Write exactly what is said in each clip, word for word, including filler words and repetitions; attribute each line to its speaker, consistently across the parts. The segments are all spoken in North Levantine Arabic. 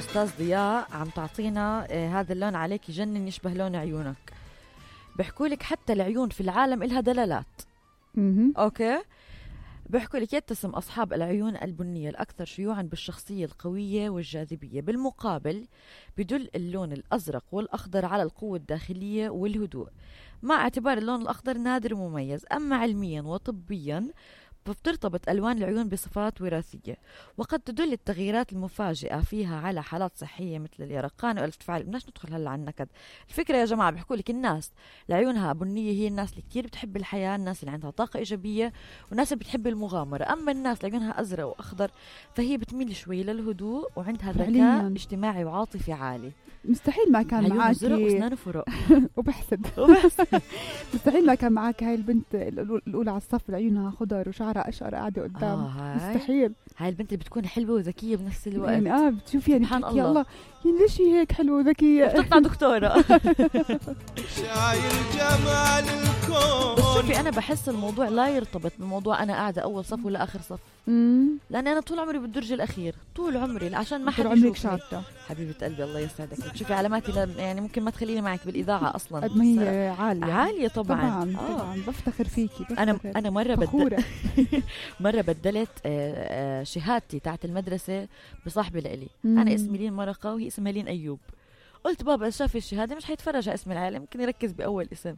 Speaker 1: أستاذ ضياء عم تعطينا آه هذا اللون عليك يجنن يشبه لون عيونك. بيحكولك حتى العيون في العالم إلها دلالات.
Speaker 2: مهم.
Speaker 1: أوكي، بيحكولك يتسم أصحاب العيون البنية الأكثر شيوعا بالشخصية القوية والجاذبية. بالمقابل بدل اللون الأزرق والأخضر على القوة الداخلية والهدوء، مع اعتبار اللون الأخضر نادر ومميز. أما علميا وطبيا بترتبط ألوان العيون بصفات وراثية، وقد تدل التغييرات المفاجئة فيها على حالات صحية مثل اليرقان والارتفاع. بدناش ندخل هلا على النكد. الفكرة يا جماعة بيحكوا لك الناس اللي عيونها بنية هي الناس اللي كتير بتحب الحياة، الناس اللي عندها طاقة إيجابية، والناس اللي بتحب المغامرة. أما الناس اللي عيونها أزرق وأخضر فهي بتميل شوي للهدوء وعندها ذكاء
Speaker 2: فعلياً.
Speaker 1: اجتماعي وعاطفي عالي.
Speaker 2: مستحيل ما كان
Speaker 1: عيونه
Speaker 2: معك
Speaker 1: زرق واسنانه فرق
Speaker 2: وبحسد
Speaker 1: وبس.
Speaker 2: مستحيل ما كان معك هاي البنت الأولى الأولى على الصف اللي عيونها خضر وشعرها أشقر قاعدة قدام.
Speaker 1: آه هاي.
Speaker 2: مستحيل.
Speaker 1: هاي البنت اللي بتكون حلوة وذكية بنفس الوقت.
Speaker 2: يعني اه بتشوفي يعني
Speaker 1: سبحان
Speaker 2: بتحكي
Speaker 1: الله.
Speaker 2: الله يعني ليش هي هيك حلوة وذكية
Speaker 1: بتطلع دكتورة.
Speaker 3: شايل جمال الكون.
Speaker 1: بس شوفي أنا بحس الموضوع لا يرتبط بموضوع أنا قاعدة أول صف ولا آخر صف،
Speaker 2: امم
Speaker 1: لأني أنا طول عمري بالدرج الأخير، طول عمري عشان ما حد
Speaker 2: طول عمرك
Speaker 1: يشوفني.
Speaker 2: شاطرة
Speaker 1: حبيبة قلبي الله يسعدك. شوفي علاماتي لا يعني ممكن ما تخليني معك بالإذاعة أصلا.
Speaker 2: قد ما هي عالية.
Speaker 1: عالية طبعا.
Speaker 2: طبعا
Speaker 1: آه.
Speaker 2: طبعا بفتخر فيكي بفتخر.
Speaker 1: أنا أنا مرة بدل
Speaker 2: فخورة.
Speaker 1: مرة بدلت آه، آه، شهادتي تاعت المدرسة بصاحبي لإلي.
Speaker 2: مم.
Speaker 1: أنا اسمي لين مرقة وهي اسمها لين أيوب. قلت بابا شاف الشهادة مش حيتفرج على اسم العائلة، ممكن يركز بأول اسم.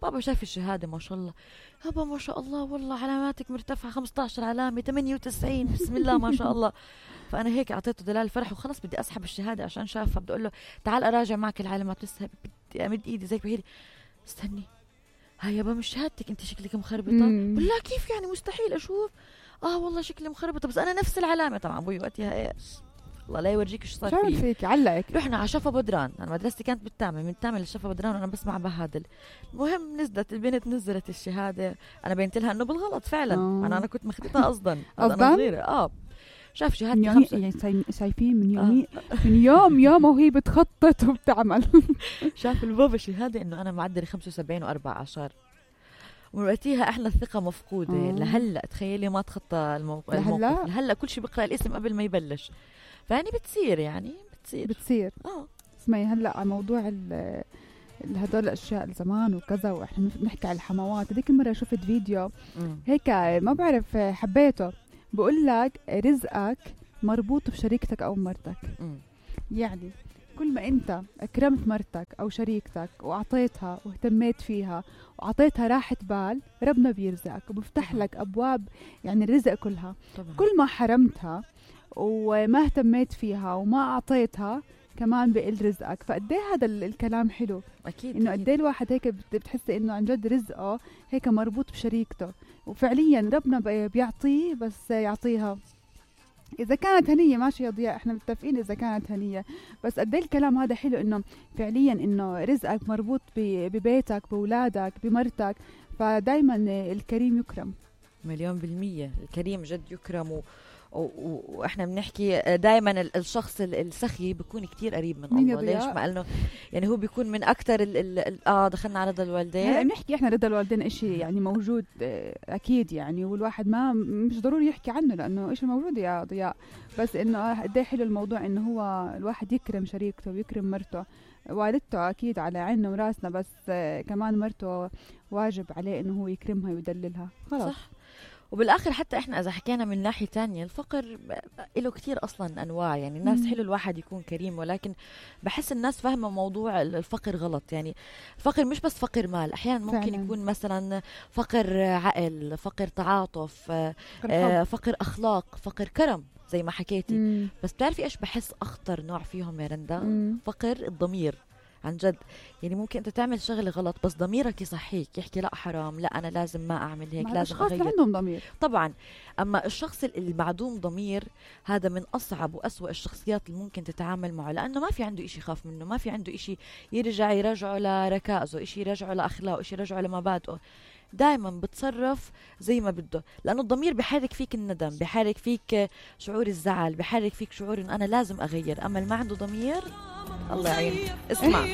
Speaker 1: بابا شاف الشهادة ما شاء الله، بابا ما شاء الله والله علاماتك مرتفعة خمسة عشر علامة ثمانية وتسعين بسم الله ما شاء الله. فأنا هيك أعطيته دلال الفرح وخلص بدي أسحب الشهادة عشان شافها. بدي أقول له تعال أراجع معك العلامات، لسه بدي أمد إيدي زيك بهيلي. استني هاي يابا مش شهادتك أنت شكلك مخربطة.
Speaker 2: مم.
Speaker 1: بالله كيف يعني مستحيل أشوف؟ آه والله شكلي مخربطة بس أنا نفس العلامة. طبعا أبوي وقتها إيش الله لا يورجيك إيش صار
Speaker 2: شو عمل
Speaker 1: فيه.
Speaker 2: فيك علقك؟
Speaker 1: رحنا على شفا بدران، أنا مدرستي كانت بالتامة، من التامة للشفا بدران وأنا بسمع بهادل. المهم نزلت البنت نزلت الشهادة، أنا بينت لها إنه بالغلط فعلا.
Speaker 2: آه.
Speaker 1: أنا أنا كنت مخطئة قصدا.
Speaker 2: قصداً؟
Speaker 1: أنا صغيرة آه شاف
Speaker 2: من
Speaker 1: شهادتي
Speaker 2: يومي
Speaker 1: خمسة.
Speaker 2: يعني ساي- شايفين من يومي من يوم يوم وهي بتخطط وبتعمل.
Speaker 1: شاف البابا شهادة إنه أنا معدلي خمسة وسبعين وأربعة عشر. ومن وقتها إحنا الثقة مفقودة.
Speaker 2: آه.
Speaker 1: لهلا تخيلي ما تخطى الموقف.
Speaker 2: لهلأ؟
Speaker 1: الموقف لهلا كل شيء بقرأ الاسم قبل ما يبلش. فيعني بتصير يعني بتصير
Speaker 2: بتصير.
Speaker 1: آه
Speaker 2: اسمعي هلا على موضوع ال ال- هدول الاشياء زمان وكذا، واحنا بنحكي على الحموات. هذيك المره شفت فيديو
Speaker 1: مم.
Speaker 2: هيك ما بعرف حبيته، بقول لك رزقك مربوط بشريكتك او مرتك.
Speaker 1: مم.
Speaker 2: يعني كل ما انت اكرمت مرتك او شريكتك واعطيتها واهتميت فيها واعطيتها راحة بال، ربنا بيرزقك وبفتح
Speaker 1: طبعاً.
Speaker 2: لك ابواب يعني الرزق كلها.
Speaker 1: طبعا
Speaker 2: كل ما حرمتها وما اهتميت فيها وما اعطيتها كمان بقل رزقك. فقد ايه هذا ال- الكلام حلو،
Speaker 1: أكيد
Speaker 2: انه
Speaker 1: أكيد.
Speaker 2: قد ايه الواحد هيك بت- بتحسي انه عن جد رزقه هيك مربوط بشريكته، وفعليا ربنا بي- بيعطيه بس يعطيها اذا كانت هنيه. ماشي يا ضياء احنا متفقين اذا كانت هنيه، بس قد ايه الكلام هذا حلو انه فعليا انه رزقك مربوط ب- ببيتك باولادك بمرتك. فدايما الكريم يكرم.
Speaker 1: مليون بالمية الكريم جد يكرم. و... و... و... واحنا بنحكي دائما الشخص ال- السخي بيكون كتير قريب من
Speaker 2: مين يا
Speaker 1: الله. ليش؟
Speaker 2: ضياء؟
Speaker 1: مع انه يعني هو بيكون من اكثر ال... ال... ال... اه دخلنا على رضا
Speaker 2: هلا
Speaker 1: الوالدين.
Speaker 2: بنحكي احنا رضا الوالدين اشي يعني موجود آه، اكيد يعني، والواحد ما مش ضروري يحكي عنه لانه اشي موجود يا ضياء. بس انه قد ايه حلو الموضوع انه هو الواحد يكرم شريكته ويكرم مرته. والدته اكيد على عيننا وراسنا، بس آه، كمان مرته واجب عليه انه هو يكرمها ويدللها. خلاص
Speaker 1: صح. وبالاخر حتى احنا اذا حكينا من ناحيه تانية الفقر له كتير اصلا انواع. يعني الناس
Speaker 2: مم.
Speaker 1: حلو الواحد يكون كريم، ولكن بحس الناس فاهمه موضوع الفقر غلط. يعني الفقر مش بس فقر مال، احيانا ممكن
Speaker 2: فعلاً.
Speaker 1: يكون مثلا فقر عقل، فقر تعاطف، آه،
Speaker 2: الحب.
Speaker 1: آه، فقر اخلاق، فقر كرم زي ما حكيتي.
Speaker 2: مم.
Speaker 1: بس بتعرفي ايش بحس اخطر نوع فيهم يا رندا؟
Speaker 2: مم.
Speaker 1: فقر الضمير. عن جد يعني ممكن انت تعمل شغله غلط بس ضميرك يصحيك يحكي لا حرام، لا انا لازم ما اعمل هيك،
Speaker 2: مع
Speaker 1: لازم
Speaker 2: الاشخاص اللي
Speaker 1: اغير.
Speaker 2: عندهم ضمير.
Speaker 1: طبعا. اما الشخص المعدوم ضمير هذا من اصعب واسوأ الشخصيات اللي ممكن تتعامل معه، لانه ما في عنده اشي يخاف منه، ما في عنده اشي يرجع يرجعه لركائزه، اشي يرجعه لاخلاقه، اشي يرجعه لمبادئه. دائما بتصرف زي ما بده، لانه الضمير بحرك فيك الندم، بحرك فيك شعور الزعل، بحرك فيك شعور انه انا لازم اغير. اما اللي ما عنده ضمير الله يعين. اسمع